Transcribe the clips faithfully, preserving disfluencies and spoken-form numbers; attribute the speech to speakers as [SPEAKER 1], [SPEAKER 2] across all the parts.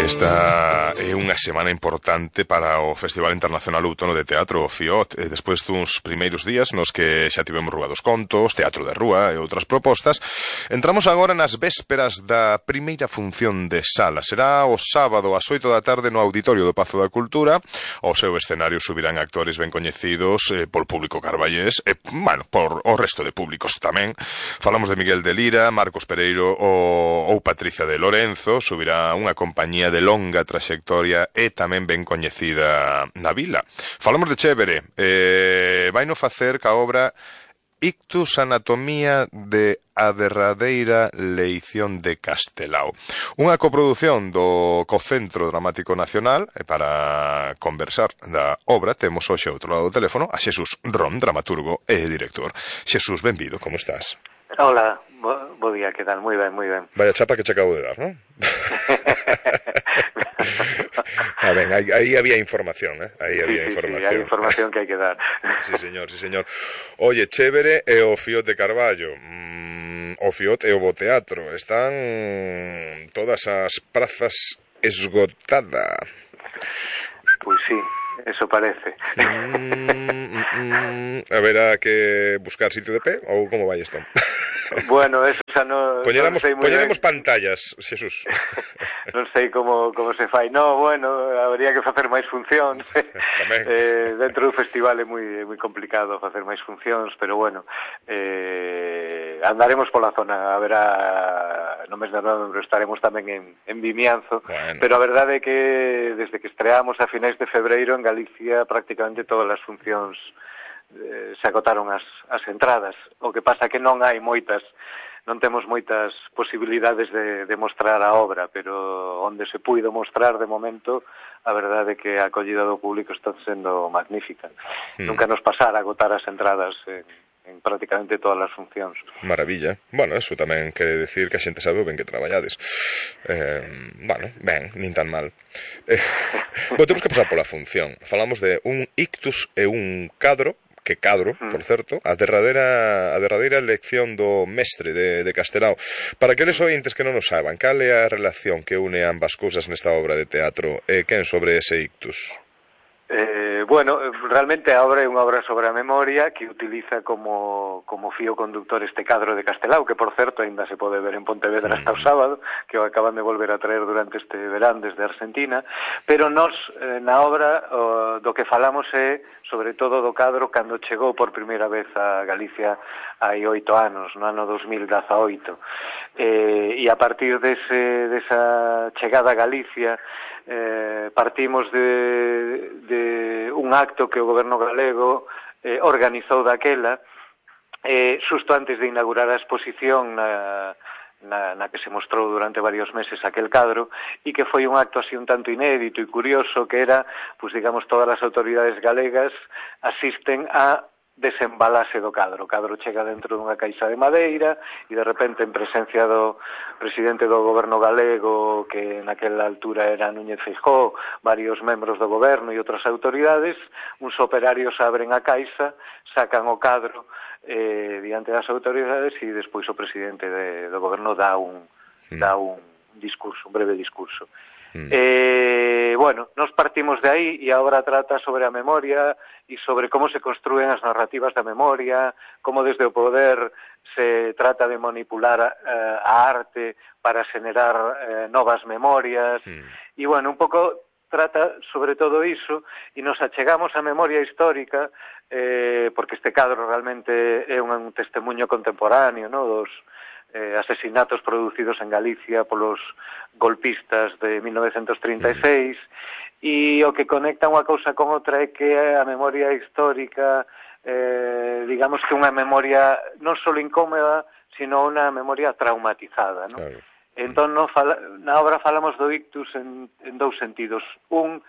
[SPEAKER 1] Esta é unha semana importante para o Festival Internacional Outono de Teatro, o FIOT. E despois duns primeiros días nos que xa tivemos Rúa dos Contos, Teatro de Rúa e outras propostas, entramos agora nas vésperas da primeira función de sala. Será o sábado ás oito da tarde no Auditorio do Pazo da Cultura. Ao seu escenario subirán actores ben coñecidos eh, por público carballés e, bueno, por o resto de públicos tamén. Falamos de Miguel de Lira, Marcos Pereiro ou, ou Patricia de Lorenzo. Subirá unha compañía de longa traxectoria e tamén ben coñecida na vila. Falamos de Chévere, eh, vaino facer ca obra Ictus, anatomía de a derradeira leición de Castelao. Unha coprodución do co Centro Dramático Nacional. E para conversar da obra temos hoxe ao outro lado do teléfono a Xesús Ron, dramaturgo e director. Xesús, benvido, como estás?
[SPEAKER 2] Hola, bo, bo día, que tal? Moi ben, moi ben.
[SPEAKER 1] Vaya chapa que che acabo de dar, non? Ah, ben, aí, aí había información, eh? Aí había
[SPEAKER 2] sí, sí,
[SPEAKER 1] información.
[SPEAKER 2] Sí, hai información que hai que dar.
[SPEAKER 1] Sí, señor, sí, señor. Oye, Chévere e o Fiot de Carballo. Mm, o Fiot e o Bo Teatro. Están todas as prazas esgotadas.
[SPEAKER 2] Pois sí, eso parece.
[SPEAKER 1] Mm, mm, mm, a ver, a que buscar sitio de pé ou como vai isto?
[SPEAKER 2] Bueno, eso xa non,
[SPEAKER 1] Poñeramos,
[SPEAKER 2] non sei moi
[SPEAKER 1] poñeramos
[SPEAKER 2] ben.
[SPEAKER 1] pantallas, Xesús.
[SPEAKER 2] Non sei como, como se fai. No, bueno, habría que facer máis funcións. eh, dentro do festival é moi, moi complicado facer máis funcións, pero bueno, eh, andaremos pola zona. A ver, a, no mes de novembro estaremos tamén en, en Vimianzo, bueno. Pero a verdade é que desde que estreamos a finais de febreiro en Galicia prácticamente todas as funcións eh, se agotaron as, as entradas. O que pasa que non hai moitas, non temos moitas posibilidades de, de mostrar a obra, pero onde se puido mostrar de momento, a verdade é que a acollida do público está sendo magnífica. Hmm. Nunca nos pasara agotar as entradas en, en prácticamente todas as funcións.
[SPEAKER 1] Maravilla. Bueno, eso tamén quere decir que a xente sabe o ben que traballades. Eh, bueno, ben, nin tan mal. Eh, bueno, temos que pasar pola función. Falamos de un ictus e un cadro, que cadro, por certo, a derradeira, a derradeira lección do mestre de, de Castelao. Para aqueles ointes que non o saban, cal é a relación que une ambas cousas nesta obra de teatro e quen sobre ese ictus?
[SPEAKER 2] Eh, bueno, realmente a obra é unha obra sobre a memoria que utiliza como, como fío conductor este cadro de Castelao, que por certo ainda se pode ver en Pontevedra hasta o sábado, que o acaban de volver a traer durante este verán desde Argentina, pero nos eh, na obra oh, do que falamos é sobre todo do cadro cando chegou por primeira vez a Galicia hai oito anos, no ano dos mil dezaoito, eh, e a partir dese, desa chegada a Galicia eh, partimos de, de un acto que o goberno galego eh, organizou daquela eh, xusto antes de inaugurar a exposición na, na, na que se mostrou durante varios meses aquel cadro, e que foi un acto así un tanto inédito e curioso, que era, pues digamos, todas as autoridades galegas asisten a desembalase do cadro. O cadro chega dentro dunha caixa de madeira e de repente en presencia do presidente do goberno galego, que naquela altura era Núñez Feijóo, varios membros do goberno e outras autoridades, uns operarios abren a caixa, sacan o cadro eh, diante das autoridades e despois o presidente de, do goberno dá un, mm. dá un discurso, un breve discurso. Mm. Eh, bueno, nos partimos de aí e agora trata sobre a memoria e sobre como se construen as narrativas da memoria, como desde o poder se trata de manipular eh, a arte para xenerar eh, novas memorias. Mm. E, bueno, un pouco trata sobre todo iso e nos achegamos á memoria histórica eh, porque este cadro realmente é un, un testemunho contemporáneo, no, dos eh, asesinatos producidos en Galicia polos golpistas de mil novecentos trinta e seis, e o que conecta unha cousa con outra é que a memoria histórica, eh, digamos que unha memoria non só incómoda, sino unha memoria traumatizada, non? Claro. Entón, no fala, na obra falamos do ictus en, en dous sentidos. Un,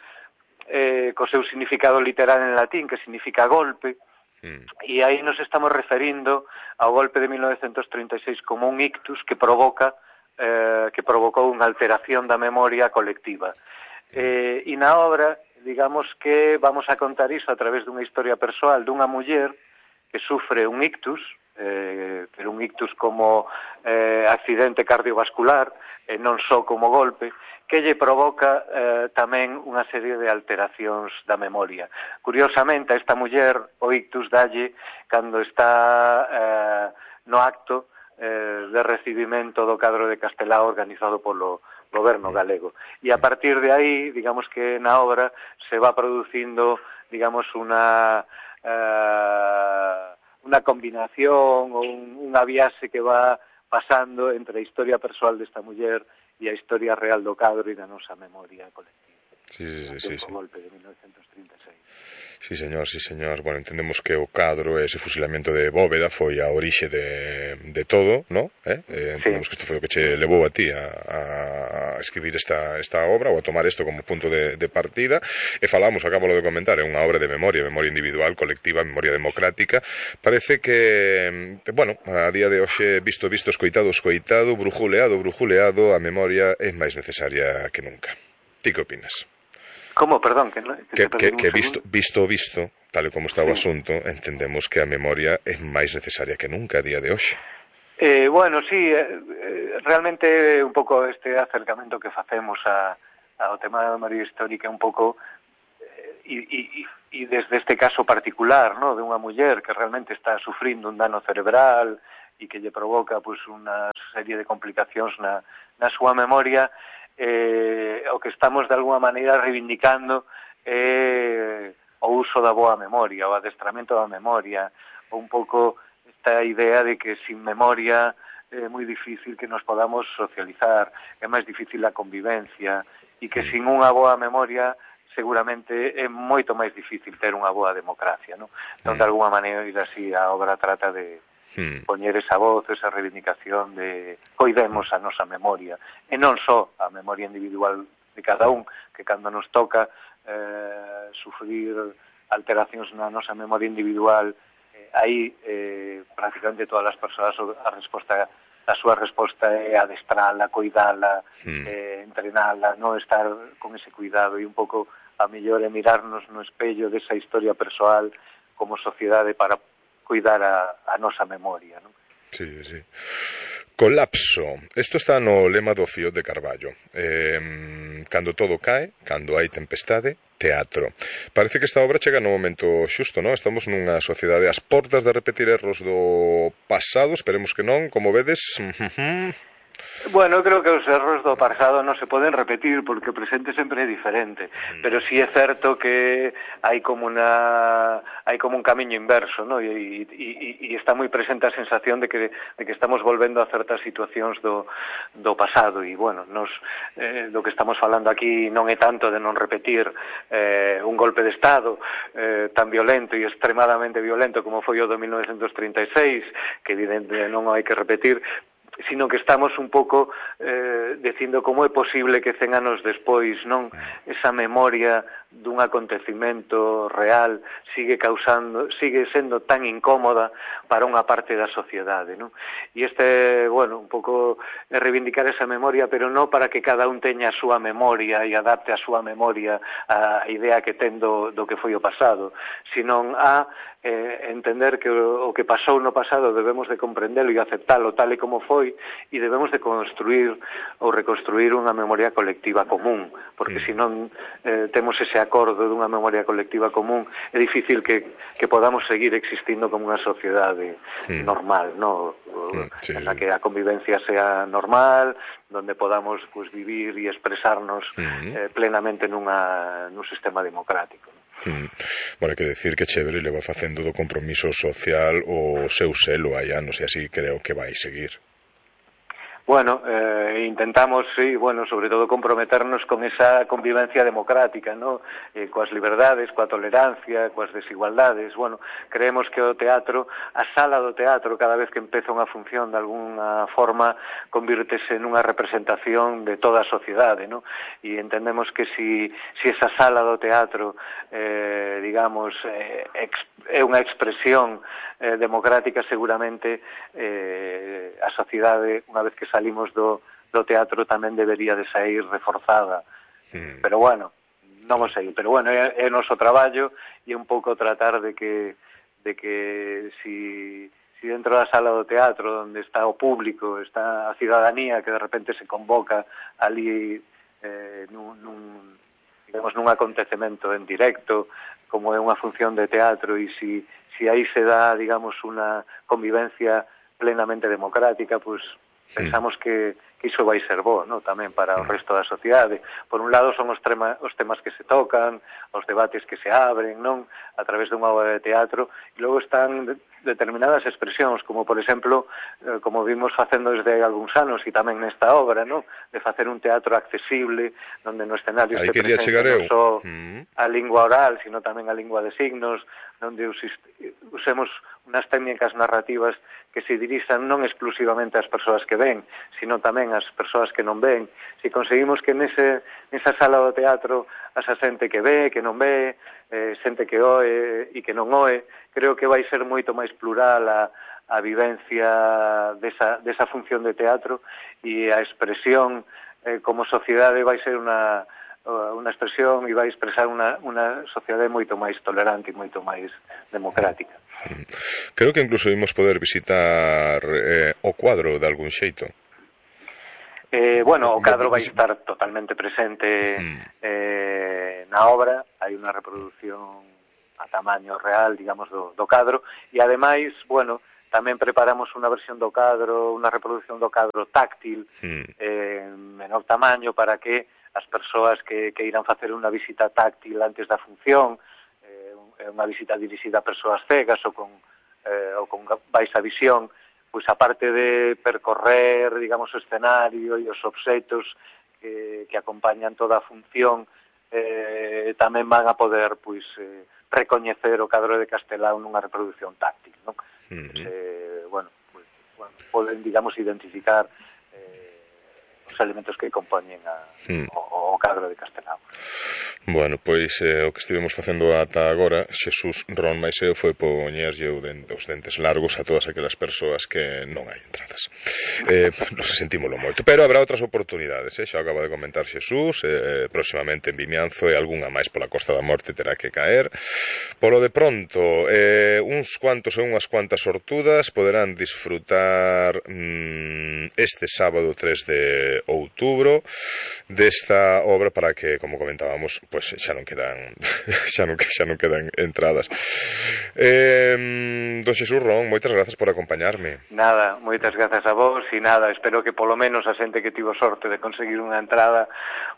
[SPEAKER 2] eh, co seu significado literal en latín, que significa golpe, mm. e aí nos estamos referindo ao golpe de mil novecentos trinta e seis como un ictus que provoca eh, que provocou unha alteración da memoria colectiva. Eh, e na obra, digamos que vamos a contar iso a través dunha historia persoal dunha muller que sufre un ictus, eh, pero un ictus como eh, accidente cardiovascular, eh, non só como golpe, que lle provoca eh, tamén unha serie de alteracións da memoria. Curiosamente, a esta muller o ictus dalle cando está eh, no acto eh, de recibimento do cadro de Castelao organizado polo goberno galego. E a partir de aí, digamos que na obra se va producindo, digamos, unha eh, unha combinación ou un, unha viaxe que va pasando entre a historia persoal desta muller e a historia real do cadro e da nosa memoria colectiva.
[SPEAKER 1] Sí, sí, sí, sí, sí.
[SPEAKER 2] Golpe de mil novecientos trinta e seis.
[SPEAKER 1] Sí, señor, sí, señor. Bueno, entendemos que o cadro, ese fusilamento de Bóveda foi a orixe de, de todo, ¿no? Eh? Eh, entendemos sí. que isto foi o que che levou a ti a, a escribir esta, esta obra ou a tomar isto como punto de, de partida, e falamos, acábalo de comentar, é unha obra de memoria, memoria individual, colectiva, memoria democrática. Parece que, bueno, a día de hoxe, visto, visto, escoitado, escoitado, brujuleado, brujuleado, a memoria é máis necesaria que nunca. Ti que opinas?
[SPEAKER 2] Como, perdón? Que,
[SPEAKER 1] que, que, que visto, visto, visto, tal e como está o sí. asunto, entendemos que a memoria é máis necesaria que nunca a día de hoxe.
[SPEAKER 2] Eh, bueno, sí, eh, realmente un pouco este acercamento que facemos a, ao tema da memoria histórica un pouco eh, e, e, e desde este caso particular, ¿no?, de unha muller que realmente está sufrindo un dano cerebral e que lle provoca pues, unha serie de complicacións na, na súa memoria. Eh, o que estamos de alguma maneira reivindicando é eh, o uso da boa memoria, o adestramento da memoria, ou un pouco esta idea de que sin memoria é moi difícil que nos podamos socializar, é máis difícil a convivencia, e que sin unha boa memoria seguramente é moito máis difícil ter unha boa democracia, non? Entón, de alguma maneira, así, a obra trata de Hmm. poñer esa voz, esa reivindicación de coidemos a nosa memoria, e non só a memoria individual de cada un, que cando nos toca eh, sufrir alteracións na nosa memoria individual, eh, aí eh, prácticamente todas as persoas a resposta, a súa resposta é adestrala, coidala, hmm. eh, entrenala, non estar con ese cuidado, e un pouco a mellor é mirarnos no espello desa historia persoal como sociedade para cuidar a, a nosa memoria, non?
[SPEAKER 1] Sí, sí. Colapso. Isto está no lema do Fiot de Carballo. Eh, cando todo cae, cando hai tempestade, teatro. Parece que esta obra chega no momento xusto, non? Estamos nunha sociedade ás portas de repetir erros do pasado, esperemos que non, como vedes.
[SPEAKER 2] Bueno, eu creo que os erros do pasado non se poden repetir porque o presente sempre é diferente, pero sí é certo que hai como una hai como un camiño inverso, ¿no? E, e, e está moi presente a sensación de que de que estamos volvendo a certas situacións do do pasado, e bueno, nos eh, do que estamos falando aquí non é tanto de non repetir eh, un golpe de estado eh, tan violento e extremadamente violento como foi o do mil novecientos trinta e seis, que evidentemente non hai que repetir, sino que estamos un pouco eh, dicindo como é posible que cen anos despois non esa memoria dun acontecimento real sigue causando, sigue sendo tan incómoda para unha parte da sociedade, non? E este, bueno, un pouco é reivindicar esa memoria, pero non para que cada un teña a súa memoria e adapte a súa memoria a idea que ten do, do que foi o pasado, sino a eh, entender que o, o que pasou no pasado debemos de comprendelo e aceptalo tal e como foi, e debemos de construir ou reconstruir unha memoria colectiva común, porque mm. senón eh, temos ese acordo dunha memoria colectiva común, é difícil que, que podamos seguir existindo como unha sociedade mm. normal, no? Mm, sí. En la que a convivencia sea normal, donde podamos pues, vivir e expresarnos mm. eh, plenamente nunha, nun sistema democrático, ¿no?
[SPEAKER 1] Mm. Bueno, hai que decir que Chévere le va facendo do compromiso social o seu selo hai anos, e así creo que vai seguir.
[SPEAKER 2] Bueno, eh, intentamos, sí, bueno, sobre todo comprometernos con esa convivencia democrática, ¿no? Eh, coas liberdades, coa tolerancia, coas desigualdades. Bueno, creemos que o teatro, a sala do teatro, cada vez que empeza unha función de alguna forma, convírtese nunha representación de toda a sociedade, ¿no? E entendemos que si, si esa sala do teatro, eh, digamos, eh, ex, é unha expresión eh, democrática, seguramente eh, a sociedade, unha vez que salimos do, do teatro, tamén debería de sair reforzada. Sí. Pero bueno, non o sei, pero bueno, é, é o noso traballo, e un pouco tratar de que de que si, si dentro da sala do teatro, onde está o público, está a cidadanía que de repente se convoca ali eh, nun, nun, digamos, nun acontecemento en directo, como é unha función de teatro, e si, si aí se dá, digamos, unha convivencia plenamente democrática, pues pensamos que, que iso vai ser bo, ¿no? Tamén para o resto da sociedade. Por un lado son os, trema, os temas que se tocan, os debates que se abren, non? A través dunha obra de teatro, e logo están de, determinadas expresións, como por exemplo, eh, como vimos facendo desde algúns anos, e tamén nesta obra, ¿no? De facer un teatro accesible, onde no escenario se presenta non só mm. a lingua oral, sino tamén a lingua de signos, onde usemos unas técnicas narrativas que se dirixan non exclusivamente ás persoas que ven, sino tamén ás persoas que non ven. Se conseguimos que nese, nesa sala do teatro asa xente que ve, que non ve, eh, xente que oe e que non oe, creo que vai ser moito máis plural a, a vivencia desa, desa función de teatro, e a expresión eh, como sociedade vai ser unha unha expresión e vai expresar unha, unha sociedade moito máis tolerante e moito máis democrática.
[SPEAKER 1] Creo que incluso imos poder visitar eh, o cuadro de algún xeito.
[SPEAKER 2] Eh, bueno, o cadro vai estar totalmente presente eh, na obra. Hai unha reproducción a tamaño real, digamos, do, do cadro, e ademais, bueno, tamén preparamos unha versión do cadro, unha reproducción do cadro táctil, eh, en menor tamaño, para que as persoas que, que irán facer unha visita táctil antes da función, eh, unha visita dirixida a persoas cegas ou con, eh, ou con baixa visión, pois aparte de percorrer, digamos, o escenario e os obxetos que, que acompañan toda a función, eh, tamén van a poder, pois, eh, recoñecer o cadro de Castelao nunha reproducción táctil, non? Uh-huh. Eh, bueno, pues, bueno, poden, digamos, identificar os elementos que compoñen a, hmm. o, o cadro de Castelao.
[SPEAKER 1] Bueno, pois eh, o que estivemos facendo ata agora, Xesús, Ron máis eu, foi poñerlle os dentes largos a todas aquelas persoas que non hai entradas. Eh, non se sentímolo moito, pero habrá outras oportunidades, eh? Xa acaba de comentar Xesús, eh, próximamente en Vimianzo, e algunha máis pola Costa da Morte terá que caer. Polo de pronto, eh, uns cuantos e unhas cuantas sortudas poderán disfrutar mm, este sábado tres de outubro desta obra, para que, como comentábamos, pois xa non quedan xa non, xa non quedan entradas. Eh, don Xesús, Ron, moitas grazas por acompañarme.
[SPEAKER 2] Nada, moitas grazas a vos, e nada, espero que polo menos a xente que tivo sorte de conseguir unha entrada,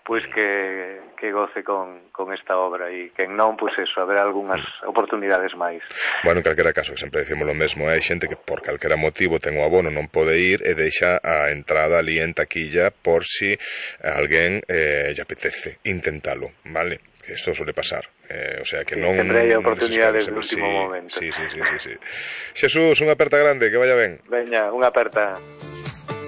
[SPEAKER 2] pois que, que goce con, con esta obra, e que non, pois eso, haber algunhas oportunidades máis.
[SPEAKER 1] Bueno, en calquera caso, que sempre decimos lo mesmo, hai xente que por calquera motivo ten o abono, non pode ir e deixa a entrada ali en taquilla por si a alguén eh, lle apetece intentalo, vale? Isto suele pasar, eh, o sea que non...
[SPEAKER 2] Sempre hai oportunidades no último
[SPEAKER 1] sí,
[SPEAKER 2] momento.
[SPEAKER 1] Sí, sí, sí, sí, sí. Xesús, unha aperta grande, que vaya ben.
[SPEAKER 2] Veña, unha aperta.